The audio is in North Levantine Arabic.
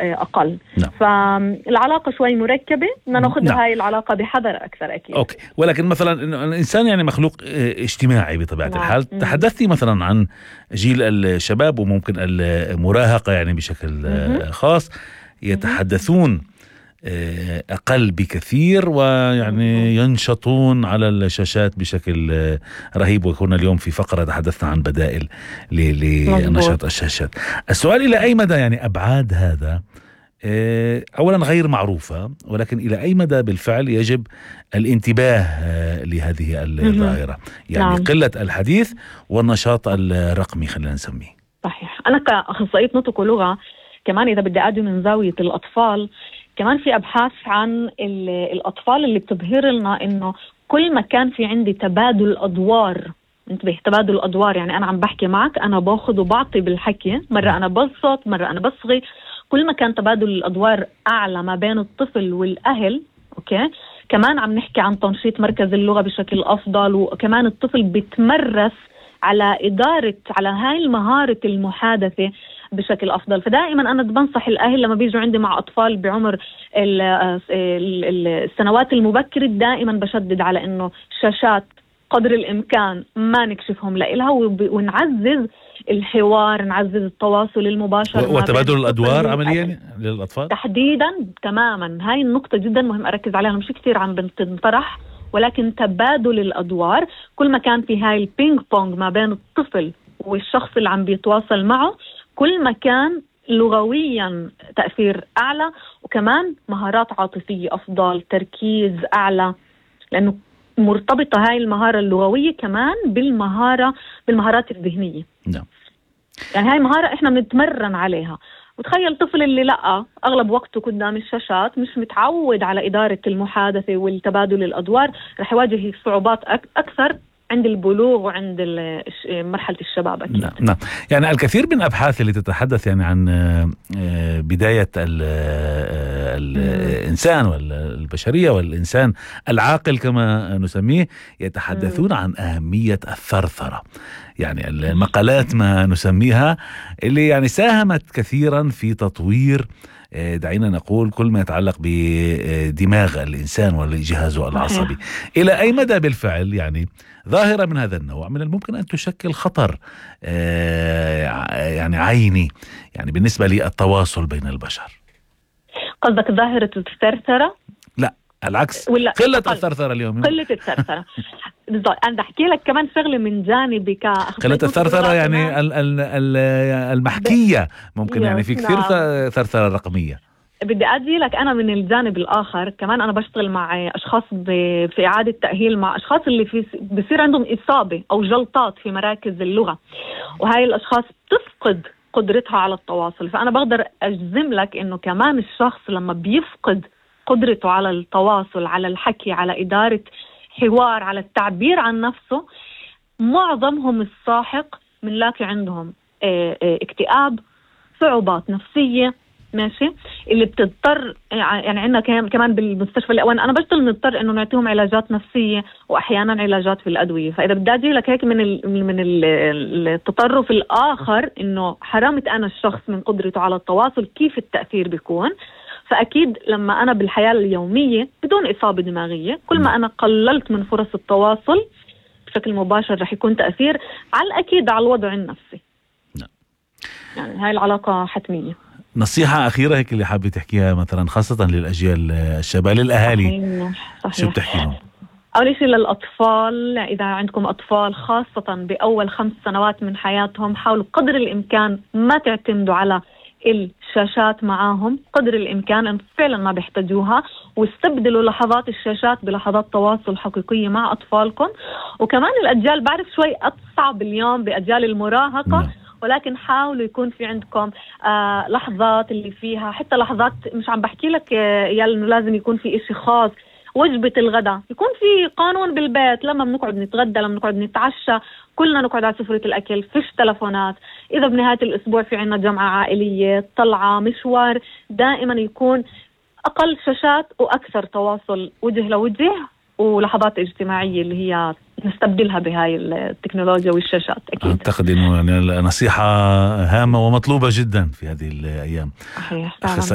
أقل. نعم. فالعلاقة شوي مركبة، بدنا ناخذ نعم. هاي العلاقة بحذر أكثر أكيد. أوكي. ولكن مثلا الإنسان يعني مخلوق اجتماعي بطبيعة نعم. الحال. تحدثتي مثلا عن جيل الشباب وممكن المراهقة يعني بشكل خاص يتحدثون أقل بكثير ويعني ينشطون على الشاشات بشكل رهيب. وكنا اليوم في فقرة تحدثنا عن بدائل لنشاط الشاشات. السؤال إلى أي مدى يعني أبعاد هذا أولا غير معروفة، ولكن إلى أي مدى بالفعل يجب الانتباه لهذه الظاهرة، يعني نعم. قلة الحديث والنشاط الرقمي خلينا نسميه. صحيح. أنا كأخصائية نطق ولغة كمان إذا بدي أدي من زاوية الأطفال، كمان في أبحاث عن الأطفال اللي بتظهر لنا إنه كل ما كان في عندي تبادل أدوار، انتبه تبادل أدوار، يعني أنا عم بحكي معك أنا باخذ وبعطي بالحكي، مرة أنا بصوت مرة أنا بصغي، كل ما كان تبادل الأدوار أعلى ما بين الطفل والأهل، أوكي، كمان عم نحكي عن تنشيط مركز اللغة بشكل أفضل، وكمان الطفل بيتمرس على إدارة على هاي المهارة المحادثة بشكل أفضل. فدائما أنا بنصح الأهل لما بيجوا عندي مع أطفال بعمر السنوات المبكرة دائما بشدد على إنه الشاشات قدر الإمكان ما نكشفهم لإلها، ونعزز الحوار، نعزز التواصل المباشر وتبادل الأدوار عمليا للأطفال تحديدا. تماما هاي النقطة جدا مهم أركز عليها، مش كثير عم بنطرح، ولكن تبادل الأدوار كل ما كان في هاي البينج بونج ما بين الطفل والشخص اللي عم بيتواصل معه، كل ما كان لغويا تأثير أعلى، وكمان مهارات عاطفية أفضل، تركيز أعلى، لأنه مرتبطة هاي المهارة اللغوية كمان بالمهارات الذهنية. نعم. يعني هاي مهارة إحنا بنتمرن عليها. وتخيل طفل اللي لقى أغلب وقته قدام الشاشات مش متعود على إدارة المحادثة والتبادل الأدوار، رح يواجه صعوبات أكثر عند البلوغ وعند مرحلة الشباب أكيد. نعم. نعم. يعني الكثير من الأبحاث اللي تتحدث يعني عن بداية الإنسان والبشرية والإنسان العاقل كما نسميه يتحدثون عن أهمية الثرثرة، يعني المقالات ما نسميها اللي يعني ساهمت كثيرا في تطوير دعينا نقول كل ما يتعلق بدماغ الإنسان وجهازه العصبي. إلى أي مدى بالفعل يعني ظاهرة من هذا النوع من الممكن أن تشكل خطر يعني عيني يعني بالنسبة للتواصل بين البشر؟ قصدك ظاهرة الثرثرة؟ لا العكس، قلة الثرثرة اليوم. قلة الثرثرة. أنا أحكي لك كمان شغلة من جانبي قلة الثرثرة يعني المحكية ممكن يعني في كثير ثرثرة رقمية. بدي أدي لك أنا من الجانب الآخر كمان، أنا بشتغل مع أشخاص في إعادة تأهيل مع أشخاص اللي بصير عندهم إصابة أو جلطات في مراكز اللغة، وهاي الأشخاص بتفقد قدرتها على التواصل. فأنا بقدر أجزم لك إنه كمان الشخص لما بيفقد قدرته على التواصل، على الحكي، على إدارة حوار، على التعبير عن نفسه، معظمهم الساحق بنلاقي عندهم اكتئاب، صعوبات نفسية، ماشي، اللي بتضطر يعني عندنا كمان بالمستشفى الأوان أنا بشتغل نضطر إنه نعطيهم علاجات نفسية وأحيانا علاجات في الأدوية. فإذا بدي أجي لك هيك من التطرف الآخر إنه حرمت أنا الشخص من قدرته على التواصل، كيف التأثير بيكون؟ فأكيد لما أنا بالحياة اليومية بدون إصابة دماغية كل ما أنا قللت من فرص التواصل بشكل مباشر رح يكون تأثير على الأكيد على الوضع النفسي. يعني هاي العلاقة حتمية. نصيحة أخيرة هيك اللي حابة تحكيها مثلا خاصة للأجيال الشباب للأهالي؟ صحيح. شو بتحكي لهم؟ أول شيء للأطفال، إذا عندكم أطفال خاصة بأول 5 سنوات من حياتهم، حاولوا قدر الإمكان ما تعتمدوا على الشاشات معاهم قدر الإمكان، أن فعلا ما بيحتاجوها، واستبدلوا لحظات الشاشات بلحظات تواصل حقيقية مع أطفالكم. وكمان الأجيال بعرف شوي أصعب اليوم بأجيال المراهقة، ولكن حاولوا يكون في عندكم لحظات اللي فيها حتى لحظات، مش عم بحكي لك إنه لازم يكون في إشي خاص، وجبة الغداء يكون في قانون بالبيت، لما بنقعد نتغدى لما بنقعد نتعشى كلنا نقعد على سفرة الأكل، فيش تلفونات. إذا بنهاية الأسبوع في عنا جمعة عائلية، طلعة، مشوار، دائما يكون أقل شاشات وأكثر تواصل وجه لوجه ولحظات اجتماعية اللي هي نستبدلها بهاي التكنولوجيا والشاشات. أكيد أعتقد أنه يعني نصيحة هامة ومطلوبة جدا في هذه الأيام. صحيح.